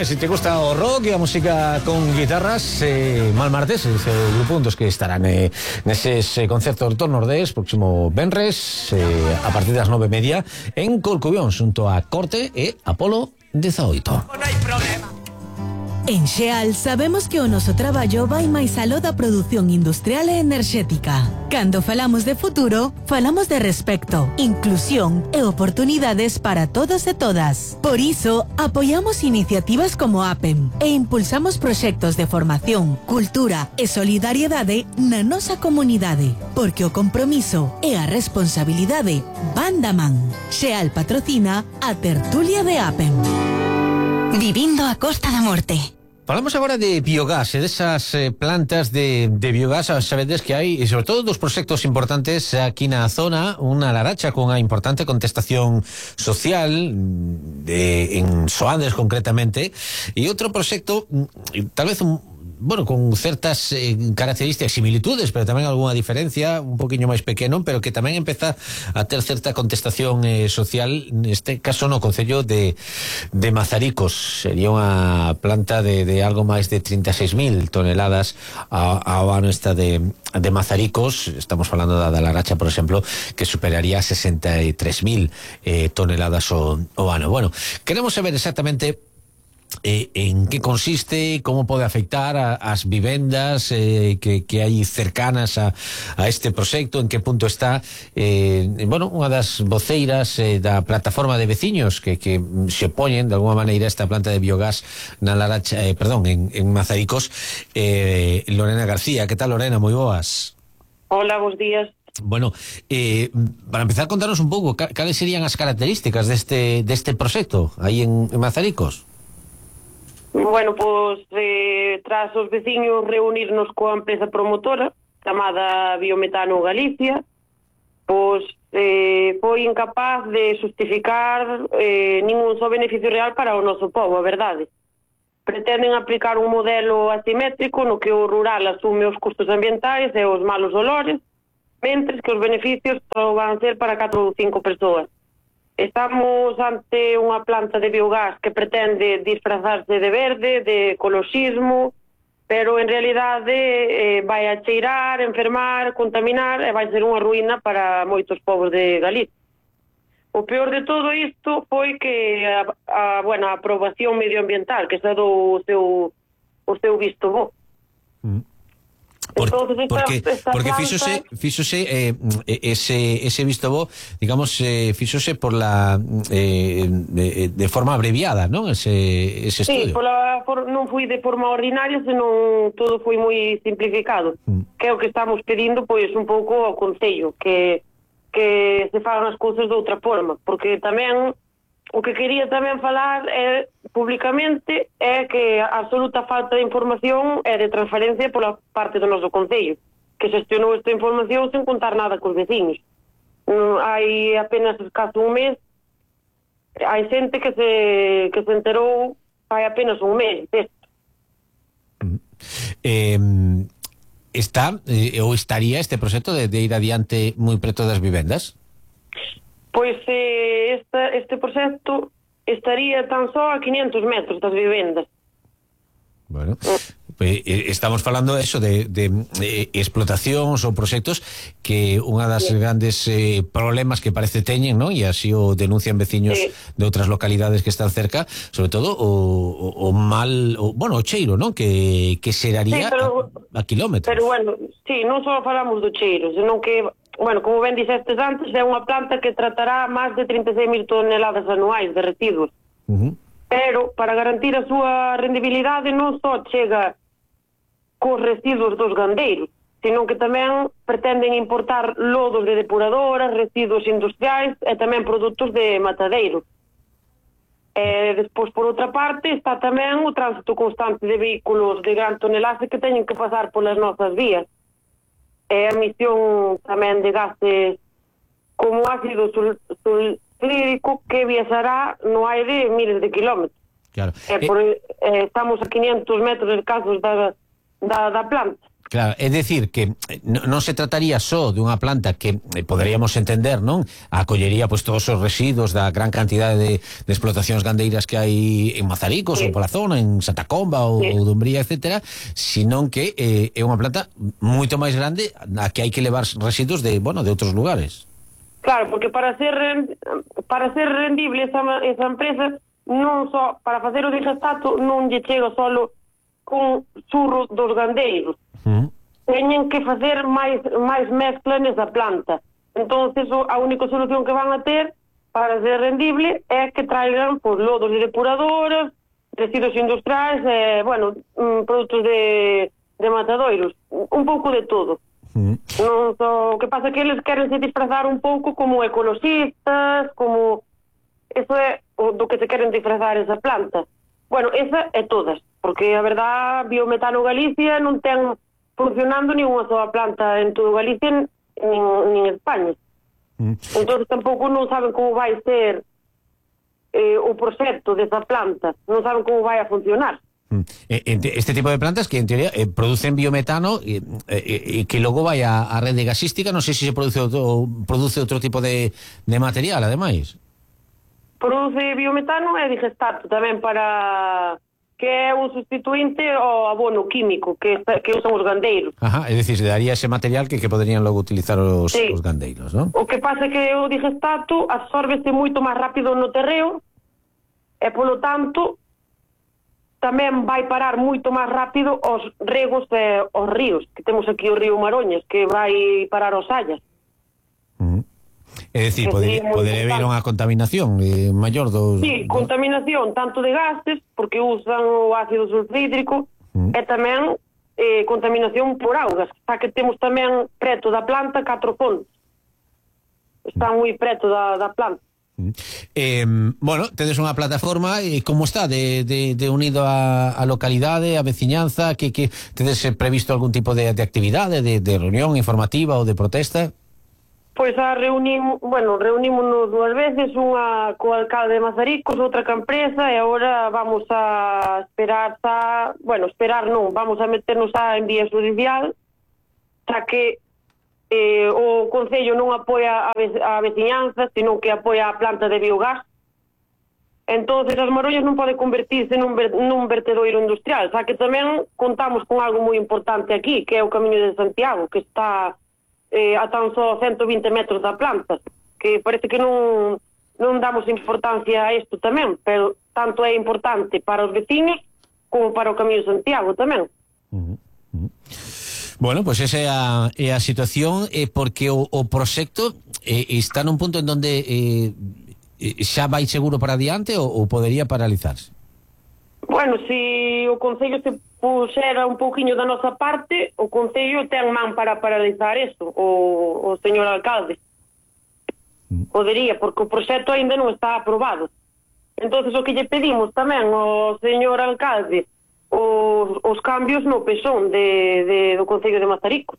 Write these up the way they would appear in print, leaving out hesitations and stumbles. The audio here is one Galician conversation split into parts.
E se te gusta o rock e a música con guitarras, Malmartes, ese grupo dos que estarán neses concertos do Nordés próximo venres a partir das 9:30 en Corcubión, xunto a Corte e Apolo 18. Non hai problema. En Xeal sabemos que o noso traballo vai máis aló da produción industrial e enerxética. Cando falamos de futuro, falamos de respecto, inclusión e oportunidades para todos e todas. Por iso, apoiamos iniciativas como APEM e impulsamos proxectos de formación, cultura e solidariedade na nosa comunidade, porque o compromiso e a responsabilidade van da man. Xeal patrocina a tertulia de APEM. Vivindo a Costa da Morte. Falamos agora de biogás, desas plantas de biogás. Sabedes que hai, e sobre todo, dos proxectos importantes aquí na zona, unha Laracha con unha importante contestación social en Soandes concretamente, e outro proxecto tal vez con certas características, similitudes, pero tamén algunha diferencia, un poquinho máis pequeno, pero que tamén empeza a ter certa contestación social, neste caso no concello de Mazaricos. Sería unha planta de algo máis de 36.000 toneladas ao ano esta de Mazaricos. Estamos falando da Laracha, por exemplo, que superaría 63.000 toneladas ao ano. Bueno, queremos saber exactamente en que consiste, como pode afectar as vivendas que hai cercanas a este proxecto, en que punto está. Unha das voceiras da plataforma de veciños que se opoñen de alguma maneira a esta planta de biogás na Laracha, en Mazaricos, Lorena García. Que tal, Lorena? Moi boas. Hola, bons días. Bueno, para empezar, contarnos un pouco cales serían as características deste proxecto aí en Mazaricos. Bueno, pois tras os veciños reunirnos coa empresa promotora chamada Biometano Galicia, pois foi incapaz de justificar ningún só beneficio real para o noso povo, a verdade. Pretenden aplicar un modelo asimétrico no que o rural asume os custos ambientais e os malos olores, mentres que os beneficios só van ser para 4 ou 5 persoas. Estamos ante unha planta de biogás que pretende disfrazarse de verde, de ecoloxismo, pero en realidade vai a cheirar, enfermar, contaminar e vai ser unha ruína para moitos povos de Galicia. O peor de todo isto foi que a aprobación medioambiental que se dou o seu visto bo. Porque fíxose ese visto bo, digamos, fíxose por de forma abreviada, non? Ese estudio. Sí, non foi de forma ordinaria, senón todo foi moi simplificado. Que é o que estamos pedindo, pois, un pouco ao Concello, que se fagan as cousas de outra forma, porque tamén o que quería tamén falar públicamente é que a absoluta falta de información e de transferencia pola parte do noso Concello, que xestionou esta información sen contar nada cos veciños. Hai apenas escaso un mes, hai xente que se enterou hai apenas un mes desto. Está ou estaría este proxecto de ir adiante moi preto das vivendas? Pois este proxecto estaría tan só a 500 metros das vivendas. Bueno, estamos falando eso de explotacións ou proxectos que unha das grandes problemas que parece teñen, ¿no? E así o denuncian veciños de outras localidades que están cerca, sobre todo o cheiro, ¿no? Que xeraría a kilómetros. Pero bueno, sí, non só falamos do cheiro, senón que, como ben dixestes antes, é unha planta que tratará máis de 36.000 toneladas anuais de residuos. Pero, para garantir a súa rendibilidade, non só chega cos residuos dos gandeiros, senón que tamén pretenden importar lodos de depuradoras, residuos industriais e tamén produtos de matadeiro. Despois, por outra parte, está tamén o tránsito constante de vehículos de gran tonelaje que teñen que pasar polas nosas vías. A emisión tamén de gases como ácido sulfúrico que viaxará no aire miles de kilómetros. Claro. Estamos a 500 metros escasos da planta. Claro, é dicir que non se trataría só dunha planta que poderíamos entender, non? Acollería pois todos os residuos da gran cantidade de explotacións gandeiras que hai en Mazaricos, ou pola zona, en Santa Comba ou Dumbría, etcétera, senón que é unha planta moito máis grande a que hai que levar residuos de, bueno, de outros lugares. Claro, porque para ser rendible esa empresa, non só para facer o digestato non lle chega solo con surro dos gandeiros. Teñen que facer máis mezcla nesa planta. Entonces a única solución que van a ter para ser rendible é que traigan pues, lodos de depuradoras, residuos industriais, produtos de matadoiros, un pouco de todo. Non só, o que pasa é que eles queren se disfrazar un pouco como ecologistas, como eso é do que se queren disfrazar esa planta. Bueno, esa é todas, porque a verdad Biometano Galicia non ten funcionando ni unha soa planta en todo Galicia nin España. Entón tampouco non saben como vai ser o proxecto desa planta, non saben como vai a funcionar. Este tipo de plantas que en teoría producen biometano e que logo vai a rede gasística, non sei se se produce outro tipo de material, ademais. Produce biometano e digestato tamén para... que é un sustituinte ao abono químico que usan os gandeiros. Ajá, é dicir, daría ese material que poderían logo utilizar os gandeiros, non? O que pasa é que o digestato absórbese moito máis rápido no terreo e, polo tanto, tamén vai parar moito máis rápido aos regos e aos ríos, que temos aquí o río Maroñas, que vai parar aos Sallas. É dicir, podería haber unha contaminación maior dos... Sí, contaminación tanto de gases, porque usan o ácido sulfídrico, e tamén contaminación por augas, xa que temos tamén preto da planta 4 fontes. Está moi preto da planta. Bueno, tedes unha plataforma, como está de unido a localidade, a veciñanza, que tedes previsto algún tipo de actividade, de reunión informativa ou de protesta? Pois reunímonos 2 veces, unha co alcalde de Mazaricos, outra ca empresa, e agora vamos a esperar vamos a meternos en vía judicial, xa que o Concello non apoia a veciñanza, senón que apoia a planta de biogás. Entonces as Maroñas non pode convertirse nun vertedoiro industrial, xa que tamén contamos con algo moi importante aquí, que é o Camiño de Santiago, que está a tan só 120 metros da planta, que parece que non damos importancia a isto tamén, pero tanto é importante para os veciños como para o Camiño de Santiago tamén. Bueno, pois esa é a situación, porque o proxecto está nun punto en donde xa vai seguro para adiante ou podería paralizarse? Bueno, se o Concello se puxera un pouquiño da nosa parte, o Concello ten man para paralizar isto, o señor alcalde. Podería, porque o proxecto ainda non está aprobado. Entonces o que lle pedimos tamén ao señor alcalde os cambios no pezón do Concello de Mazaricos,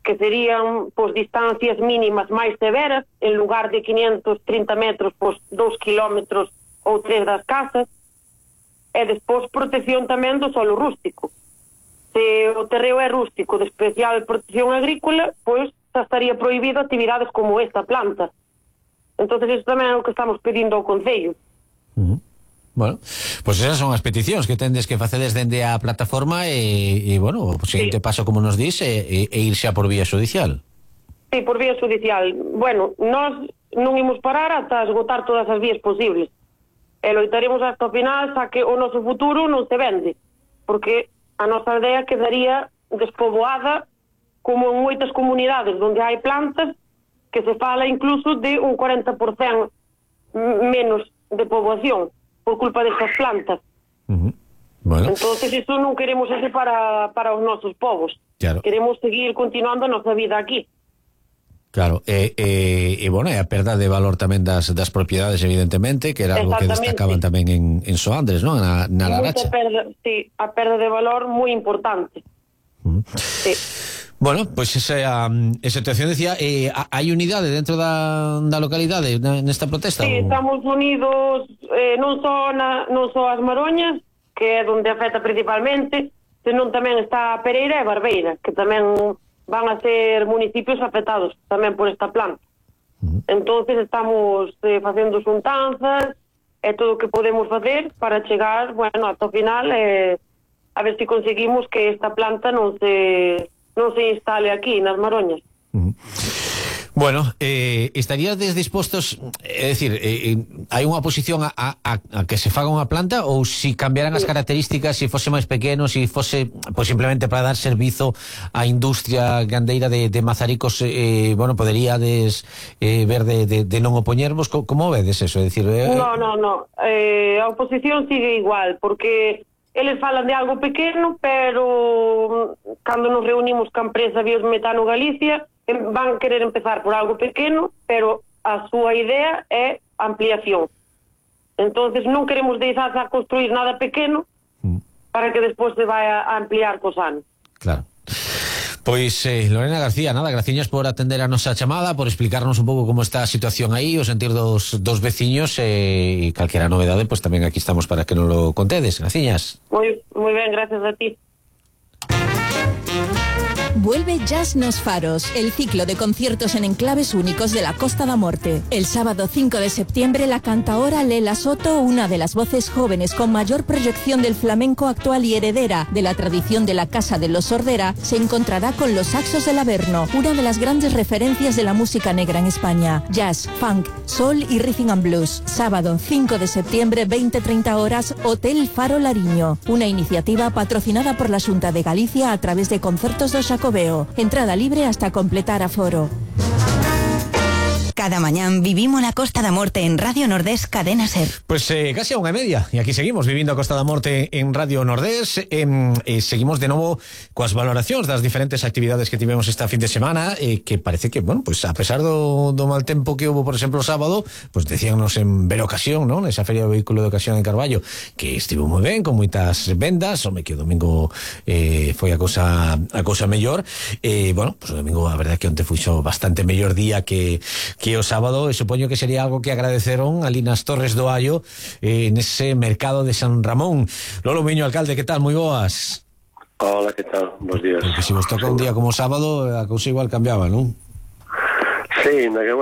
que serían distancias mínimas máis severas, en lugar de 530 metros, 2 kilómetros ou 3 das casas, e despois protección tamén do solo rústico. Se o terreo é rústico de especial protección agrícola, pois xa estaría prohibido actividades como esta planta. Entonces iso tamén é o que estamos pedindo ao Concello. Bueno, pois esas son as peticións que tendes que facedes dende a plataforma e bueno, o seguinte paso, como nos dis, é ir xa por vía judicial. Sí, por vía judicial. Bueno, nós non imos parar ata esgotar todas as vías posibles. E loitaremos hasta o final, xa que o noso futuro non se vende, porque a nosa aldea quedaría despoboada como en moitas comunidades onde hai plantas, que se fala incluso de un 40% menos de poboación por culpa destas plantas. Bueno. Entonces iso non queremos ese para os nosos povos. Claro. Queremos seguir continuando a nosa vida aquí. Claro, bueno, e a perda de valor tamén das propiedades, evidentemente, que era algo que destacaban tamén en Soandres, non? Na Laracha. Sí, a perda de valor moi importante. Sí. Bueno, pois esa situación, decía, hai unidade dentro da localidade nesta protesta? Sí, estamos unidos non só as Maroñas, que é onde afecta principalmente, senón tamén está Pereira e Barbeira, que tamén van a ser municipios afectados tamén por esta planta. Entonces estamos facendo xuntanzas e todo o que podemos facer para chegar, bueno, ata o final a ver se conseguimos que esta planta non se instale aquí nas Maroñas. Bueno, estarías dispostos, é dicir, hai unha oposición a que se faga unha planta, ou si cambiaran as características, si fose máis pequeno, si fose pues, simplemente para dar servizo á industria gandeira de Mazaricos, bueno, poderíades ver de non opoñervos? Como vedes eso? É dicir, No, a oposición sigue igual, porque eles falan de algo pequeno, pero cando nos reunimos ca empresa Biometano Galicia, van querer empezar por algo pequeno, pero a súa idea é ampliación. Entonces non queremos deixar a construir nada pequeno para que despois se vai a ampliar cos anos. Claro. Pois, Lorena García, nada, graciñas por atender a nosa chamada, por explicarnos un pouco como está a situación aí, o sentir dos veciños, e calquera novedade, pois tamén aquí estamos para que nos lo contedes. Graciñas. Moi ben, gracias a ti. Vuelve Jazz nos Faros, el ciclo de conciertos en enclaves únicos de la Costa da Morte. El sábado 5 de septiembre, la cantaora Lela Soto, una de las voces jóvenes con mayor proyección del flamenco actual y heredera de la tradición de la Casa de los Sordera, se encontrará con los Saxos del Averno, una de las grandes referencias de la música negra en España. Jazz, funk, soul y rhythm and blues. Sábado 5 de septiembre, 20:30 horas, Hotel Faro Lariño. Una iniciativa patrocinada por la Xunta de Galicia a través de Concertos do Xacobeo. Entrada libre hasta completar aforo. Cada mañán vivimos la Costa da Morte en Radio Nordés Cadena Ser. Pues casi a 1:30 y aquí seguimos vivindo a Costa da Morte en Radio Nordés. Seguimos de novo coas valoracións das diferentes actividades que tivemos esta fin de semana, que parece que, bueno, pues a pesar do mal tempo que hubo, por exemplo, o sábado, pues decíanos en ver ocasión, ¿no? Esa feria de vehículo de ocasión en Carballo, que estivo moi ben, con moitas vendas, home, que o domingo foi a cousa mellor. Bueno, pues o domingo a verdade que onte fuxo bastante mellor día que o sábado, e supoño que sería algo que agradeceron ali nas Torres do Allo, nese mercado de San Ramón. Lolo Miño, alcalde, que tal? Moi boas. Hola, que tal? Bos días. Porque se vos toca un día como sábado, a cousa igual cambiaba, non? Sí, na que, bueno,